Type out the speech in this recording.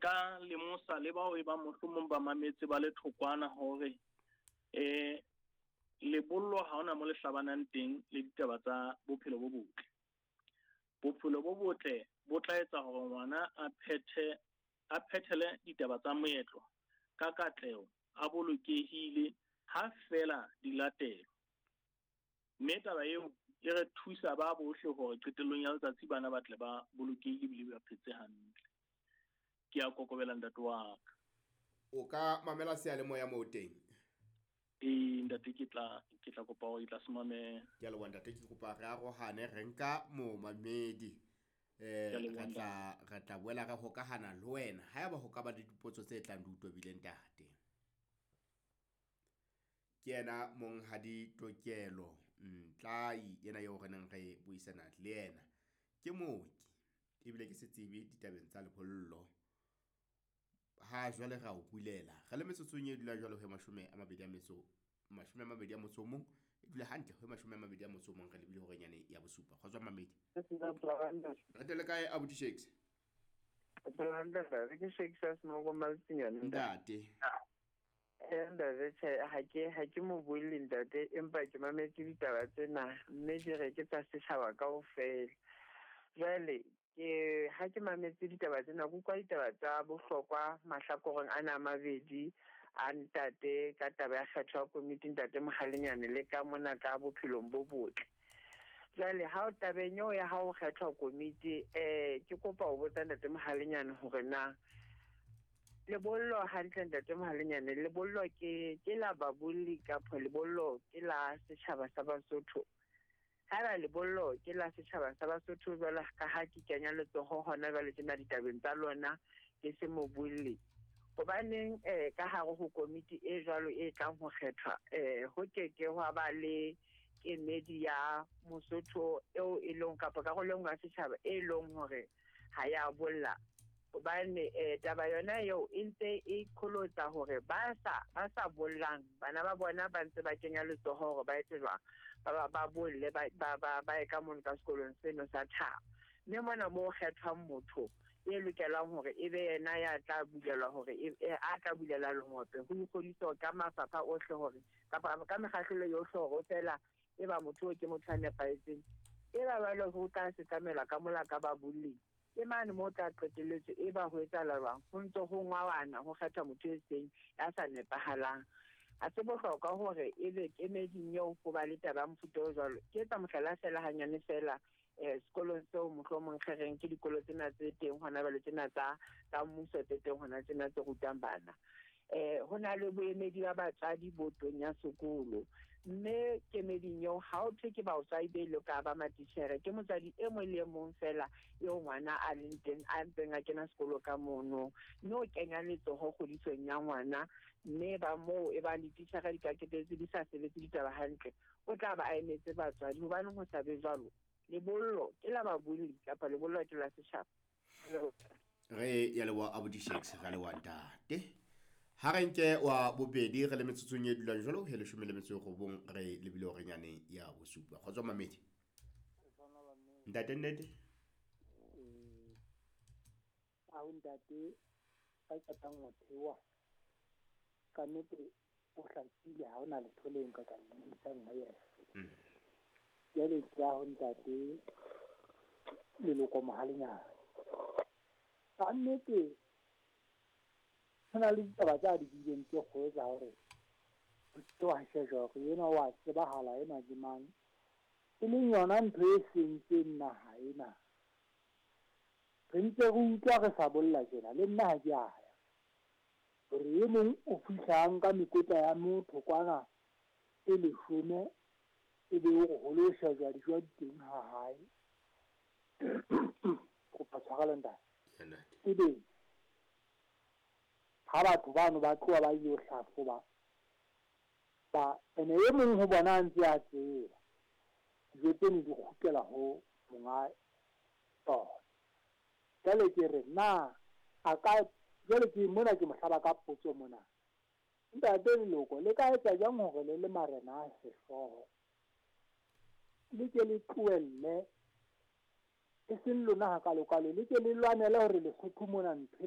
Nka lemosa le bao e bang mohlomong ba mametse ba le thokwana hore lebollo ha hona mo le hlabanang teng le ditaba tsa bophelo bo botle. Bophelo bo botle bo tla etsa hore ngwana a phethele ditaba tsa moetlo ka katleho, a bolokehile ha fela di latelwa. Mme taba eo e re thusa ba bohle hore qetellong ya letsatsi bana ba tle ba bolokehile ebile ba phetse hantle. Ke a kokobela ntate wa ka. O ka mamela seyalemoya moo teng? Ee ntate, ke tla kopa hore ke tla se mamela. Ke a leboha ntate, ke kopa re arohane re nka momamedi. Re tla boela re hokahana le wena haeba ho ka ba le dipotso tse tlang di o tobile ntate. Ke yena Monghadi Tokelo Ntlai ena eo re neng re buisana le yena. Ke mooki ebile ke setsebi ditabeng tsa lebollo. Ha jwale ra o bulela re le metsotsong e dula jwale ho 21, e dula hantle ho 21 re lebile hore nyane ya bosupa. Kgotso mamedi. Re tele kae abuti Shakes? Ke Shakes a Smoko Maltsinyane. Ntate. Ntate tjhe, ha ke mo buelle ntate, empa ke mametse ditaba tsena mme di re ke tsa setjhaba kaofela. Jwale ke ha ke mametse ditaba tsena, ke utlwa ditaba tsa bohlokwa mahlakoreng ana a mabedi a ntate ka taba ya kgetho ya komiti ntate Mohalenyane le ka mona ka bophelong bo botle. Jwale ha o tabeng eo ya ha o kgethwa komiti, ke kopa ho botsa ntate Mohalenyane hore na lebollo hantle ntate Mohalenyane, lebollo ke la babolli kapa lebollo ke la setjhaba sa Basotho? Haeba lebollo ke la setjhaba sa Basotho, jwalo ka ha ke kenya letsoho hona jwale tjena ditabeng tsa lona, ke se mobolli. Hobaneng ka hare ho komiti e jwalo e tlang ho kgethwa, ho ke ke hwa ba le kemedi ya Mosotho eo e leng kapa karolo e nngwe ya setjhaba e leng hore ha ya bolla? Hobane taba yona eo e ntse e qholotsa hore ba sa bollang bana ba bona ba ntse ba kenya letsoho hore ba etse jwang, ba bolle, ba ye ka mono ka sekolong seno sa thabo. Mme mona moo kgethwang motho e lokelang hore e be yena ya tla bulelwa hore a tla bulela lengope ho ikgodisa ka mafapha ohle hore kapa ka mekgahlelo yohle hore o fela e ba motho ke motho a nepahetseng, e ba jwale ho tla setlamelwa ka mola ka babolli. Ke mane moo tla qetelletse e ba ho etsahala jwang, ho ntse ho ngwawana ho kgetha motho e seng ya sa nepahalang. Ha se bohlokwa hore ebe kemeding eo ho ba le taba ya mofuta o jwalo. Ke etsa mohlala fela hanyane fela, sekolong seo mohlomong re reng ke dikolo tsena tse teng hona jwale tsena tsa mmuso tse teng hona tsena tse rutang bana. Ho na le boemedi ba batswadi botong ya sekolo, mme kemeding eo ha o thwe ke batswadi be le ka ba matitjhere, ke motswadi e mong le e mong fela eo ngwana a leng teng a ntseng a kena sekolo ka mono, mme o kenya letsoho kgodisong ya ngwana, mme ba moo e bang dititjhere di ka qetelletse di sa sebetse ditaba hantle, o tla ba a emetse batswadi. Hobaneng ho sa be jwalo? Lebollo ke la babolli kapa lebollo ke la setjhaba? Re ya leboha abuti Shakes, re leboha ntate. Ha re nke wa bobedi re le metsotsong e dulang jwalo he 19 re lebile hore nyane ya bosupa. Kgotso mamedi. Ntate nnete? Aho ntate ba qetang ho theoha. Ka nnete o hlakile, ha hona letho le nka ka isang ho yena. Jwale ke ya ho ntate Leloko Mohalenyane. Ka nnete ho na le ditaba tsa di buileng tse kgolo tsa hore ho wa shejwa hore enwa wa tsebahala, enwa ke mang, e leng yona ntho e sentseng naha ena. Re ntse re utlwa re sa bolla tjena, le nna ha ke a ya hore e mong o fihlang ka mekotla ya motho kwana e 10, e be o re ho lo shejwa dijo di teng ha hae. Kopa tshwarelo ntate. Ebe ha batho bano ba tloha ba ile ho hlahloba ba ene e mong ho bona a ntse a tseba dijo tseno di kgutlela ho monga tsona. Jwale ke re na a ka jwale ke mona ke mohlaba ka potso mona, ntate Leloko le ka etsa jwang hore le le marena a sehlooho le ke le tlohelle e seng lona hakalokalo, le ke le lwanele hore Lesotho mona ntho